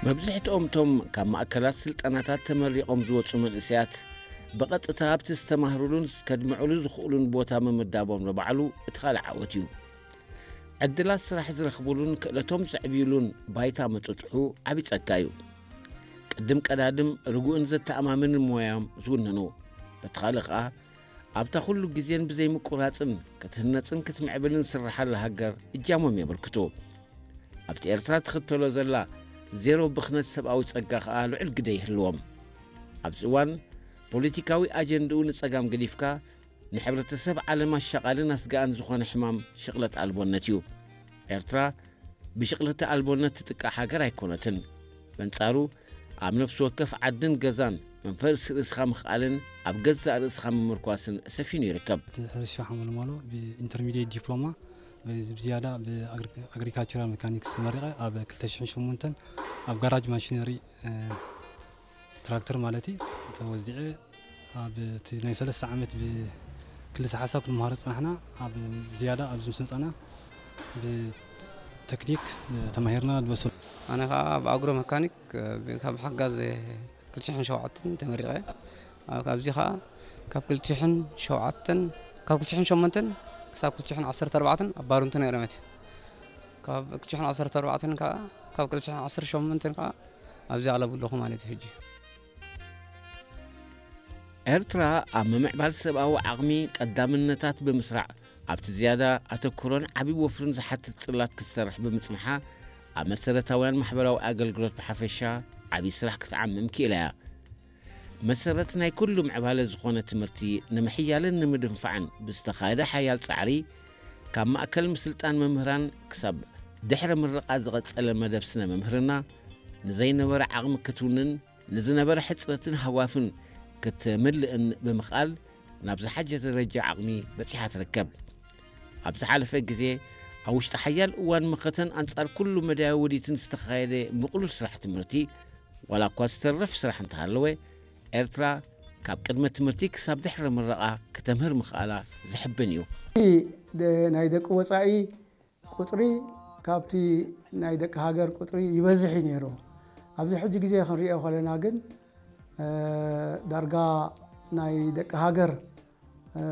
መብዝሕትኦም እቶም ካብ ማእከላት ስልጠናታት ተመሪቖም ዝወጹ መንእሰያት ብቐጥታ ኣብቲ ዝተማህሩሉን ከድምዑሉ ዝኽእሉን ቦታ ምምዳቦም ንባዕሉ እቲ ካልእ ዓወት እዩ። ዕድላት ስራሕ ዝረኽቡሉን ክእለቶም ዘዕብዩሉን ባይታ ምጥጥሑ ዓቢ ጸጋ እዩ። ቅድም ቀዳድም ርጉእን ዘተኣማምንን ሞያዮም ዝውንኑ፣ በቲ ካልእ ኸኣ ኣብታ ኩሉ ግዜን ብዘይምቁራጽን ክትህነጽን ክትምዕብልን ዝስርሓላ ሃገር እጃሞም የበርክቱ። ኣብቲ ኤርትራ ትኽተሎ ዘላ ዜሮ ብኽነት ሰብኣዊ ጸጋ ኸኣ ልዑል ግደ ይህልዎም። ኣብዚ እዋን ፖለቲካዊ ኣጀንድኡ ንጸጋም ገዲፍካ ንሕብረተሰብ ዓለም ኣሻቓልን ኣስጋእን ዝኾነ ሕማም ሽቕለት ኣልቦነት እዩ። ኤርትራ ብሽቕለተ ኣልቦነት ትጥቃዕ ሃገር ኣይኮነትን። በንጻሩ ኣብ ነፍሲ ወከፍ ዓድን ገዛን መንፈስ ርእስኻ ምኽኣልን ኣብ ገዛእ ርእስኻ ምምርኳስን ሰፊኑ ይርከብ። እቲ ሕርሻ ሓመልማሎ ብኢንተርሚዲየት ዲፕሎማ ብዝያዳ ብኣግሪካልቸራል ሜካኒክስ መሪቐ ኣብ ክልተ ሽሕን ሸሞንተን ኣብ ጋራጅ ማሽነሪ ትራክተር ማለት እዩ ተወዚዐ። ኣብ እቲ ናይ ሰለስተ ዓመት ብክልሰ ሓሳብ ክንመሃሮ ዝጸናሕና ኣብ ዝያዳ ኣብዚ ምስ መጻና ብተክኒክ ተማሂርና ዝበሰሉ። ኣነ ከዓ ብኣግሮ መካኒክ ካብ ሓጋዝ ክልተ ሽሕን ሸውዓተን ተመሪቐ። ኣብዚ ከዓ ካብ ክልተ ሽሕን ሸውዓተን ካብ ክልተ ሽሕን ሸሞንተን ክሳብ ክልተ ሽሕን ዓሰርተ ኣርባዕተን ኣብ ባሩንቱ ነይረ መት ካብ ክልተ ሽሕን ዓሰርተ ኣርባዕተን ከዓ ካብ ክልተ ሽሕን ዓሰርተ ሸሞንተን ከዓ ኣብዚ ኣለቡ ኣለኹ ማለት እዩ። ሕጂ ኤርትራ ኣብ ምምዕባል ሰብኣዊ ዓቕሚ ቀዳምነታት ብምስራዕ ኣብቲ ዝያዳ ኣተኩሮን ዓቢ ወፍርን ዝሓትት ጽላት ክትሰርሕ ብምጽንሓ ኣብ መሰረታውያን ማሕበራዊ ኣገልግሎት ብሓፈሻ ዓቢ ስራሕ ክትዓምም ክኢላ እያ። መሰረት ናይ ኩሉ ምዕባለ ዝኾነ ትምህርቲ ንምሕያልን ንምድንፋዕን ብዝተኻየደ ሓያል ጻዕሪ ካብ ማእከል ምስልጣን መምህራን ክሳብ ድሕረ ምረቓ ዝቐጸለ መደብ ስነ መምህርና ንዘይነበረ ዓቕሚ ክትውንን ንዝነበረ ሕጽረትን ሃዋፍን ክትምልእን ብምኽኣል ናብ ዝሓሸ ደረጃ ዓቕሚ በጺሓ ትርከብ። ኣብ ዝሓለፈ ግዜ ኣብ ውሽጢ ሓያል እዋን መኸተን ኣንጻር ኩሉ መዳያዊ ውዲትን ዝተኻየደ ምቕሉል ስራሕ ትምህርቲ ዋላ እኳ ዝተረፍ ስራሕ እንተሃለወ ኤርትራ ካብ ቅድመ ትምህርቲ ክሳብ ድሕሪ ምረቓ ክተምህር ምኽኣላ ዝሕብን እዩ። ናይ ደቂ ወፃኢ ቁፅሪ ካብቲ ናይ ደቂ ሃገር ቁፅሪ ይበዝሕ እዩ ነይሩ። ኣብዚ ሕጂ ግዜ ክንሪኦ ከለና ግን ዳርጋ ናይ ደቂ ሃገር